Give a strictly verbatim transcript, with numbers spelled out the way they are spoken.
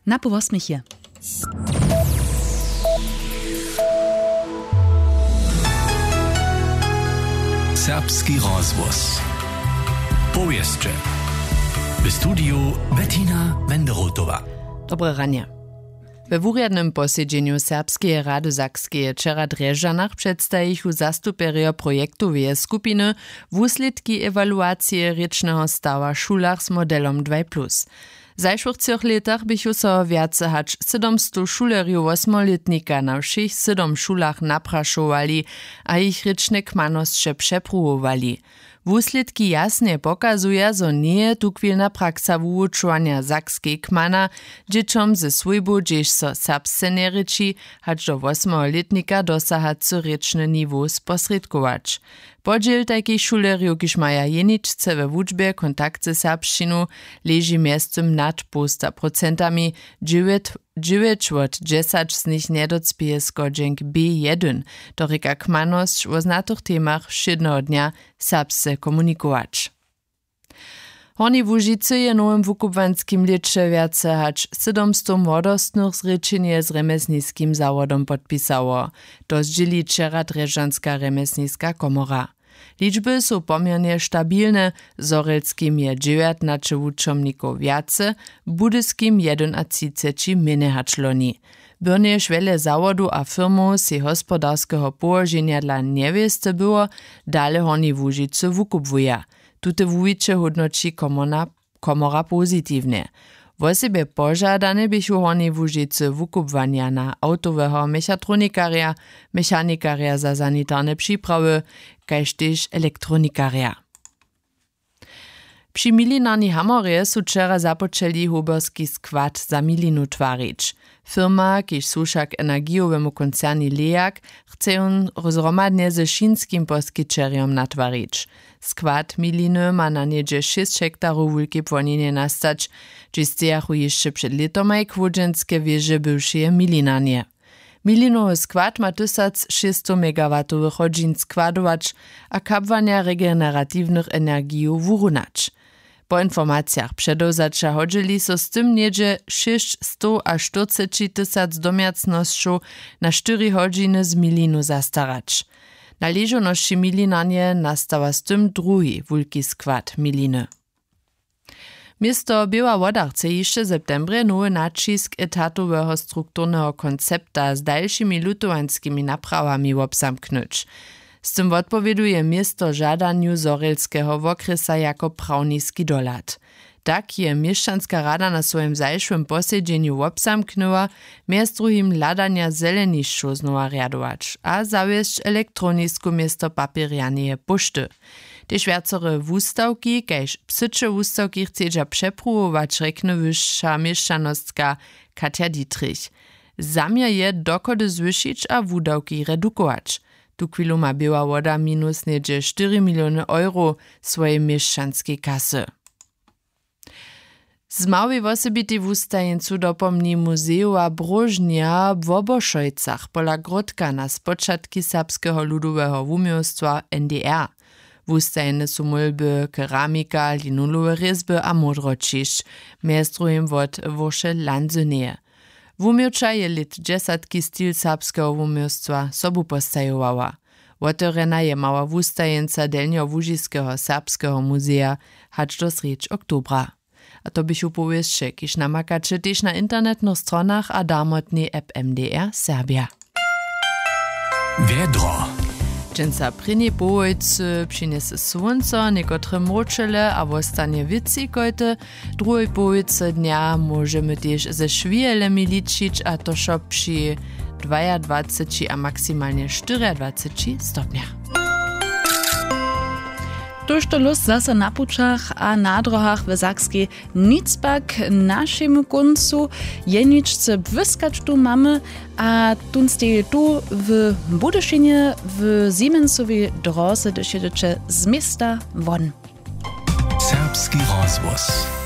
Na pół wosmich je. Serbski rozhłos. Powěsće. W studiju Bettina Wenderotowa. Dobre ranje. We wurjadnym posedźenju Serbskeje rady Sakskeje wčera w Drježdźanach předstajichu zastupjerjo projektoweje skupiny wuslědki ewaluacije rěčneho stawa w šulach z modelom dwaj plus. W zašłych třoch lětach běchu so wjace hač sydomstow šulerjow wosmolětnika na wšěch sydom šulach naprašowali a jich rěčne kmanosće přepruwowali. Wuslědki jasnje pokazuja, zo njeje tuchwilna praksa wuwučowanja sakskej kmana, dźěćom ze swójbu, hdźež so serbsce njerěči, hač do wosmeho lětnika dosahacy rěčny niwow sposrědkować. Podźěl tajkich šulerjow, kiž maja jeničce we wučbje kontakt ze serbšćinu, leži mjeztym nad połsta procentami, dźewjeć wot dźesać z nich njedocpěje schodźenk B jedyn, to rěka kmanosć wo znatych temach wšědneho dnja serbsce komunikować. W Hornjej Łužicy je w nowym wukubłanskim lěće wjace hač sydomstow młodostnych zrěčenje z rjemjesniskim zawodom podpisało. To zdźěli wčera drježdźanska rjemjesniska komora. Ličby su poměrnje stabilne, w zhorjelskim je dźewjatnaće wučomnikow wjace, w budyskim jedynatřiceći mjenje hač loni. Byrnjež wjele zawodow a firmow sej hospodarskeho połoženja dla njewěsty było, dale w Hornjej Łužicy wukubłuja. Tute wuwiće hódnoći komorna komora pozitiwnje. Wosebje požadane běchu w Hornjej Łužicy wukubłanja na awtoweho mechatronikarja, mechanikarja za sanitarne připrawy, kaž tež elektronikarja. Při milinarni Hamorje su wčera započeli hoberski skład za milinu twarić. Firma, kiž słuša k energijowemu koncerni Leak, chce jón zhromadnje ze wšinskim poskićerjom natwarić. Skład miliny ma na něhdźe šěsć hektarow wulkej płonjenje nastać, hdźež stejachu hišće před lětomaj chłódźenske wěže bywšeje milinarnje. Milinowy skład ma tysac šěsćstow megawatowych hodźin składować a kabłanja regeneratiwnych energijow wurunać. Po informacijach předewzaća hodźeli so z tym něhdźe šěsćstowaštyrceći tysac domjacnosćow na štyri hodźiny z milinu zastarać. Na ležownosći milinarnje nastała z tym druhi wulki skład miliny. Město Běła Woda chce hišće w septembrje nowy naćisk etatoweho strukturneho koncepta z dalšimi lutowanskimi naprawami wobzamknyć. Z tym wotpowěduje město žadanju zhorjelskeho wokrjesa jako prawniski dohlad. Tak je měšćanska rada na swojim zašłym posedźenju wobzamknyła, mjez druhim hladanja zelenišćow znowa rjadować a zawěsć elektronisku město papěrjaneje póšty. Tež wjacore wustawki kaž psyće wustawki chcedźa přepruwować, rjekny wyša měšćanostka Katja Dietrich. Zaměr je dochody zwyšić a wudawki redukować. Tuchwilu ma Běła Woda minus něhdźe štyri miliony euro swojej měšćanskej kasy. Z małej wosebitej wustajeńcu dopomni muzejowa bróžnja w Wobošojcach pola Gródka na spočatki serbskeho ludoweho wuměłstwa N D R. Wustajene su mólby, keramika, linulowe rězby a módroćišć, mjez druhim wot Wóše Lanzyneje. Wuměłča je lět dźesatki stil serbskeho wuměłstwa sobu postajowała. Wotewrjena je mała wustajeńca delnjołužiskeho serbskeho muzeja hač do srjedź oktobra. A to běchu powěsće, kiž namakaće tež na internetnych stronach a darmotnej app M D R Serbja. Wjedro. Dźensa prěni połojcy přinjese słónco, někotre mróčele a wostanje wětřikojty. W druhej połojcy dnja móžemy tež ze šwihelemi ličić, a to wšo při dwajadwaceći a maksimalnje štyriadwaceći stopnjach. Tójšto lós zaso na pućach a na dróhach w Sakskej. Nic pak k našemu kóncu. Jeničce błyskać tu mamy, a tón steji tu w Budyšinje w Siemensowej dróze, hdyž jědźeće z města won. Serbski rozhłos.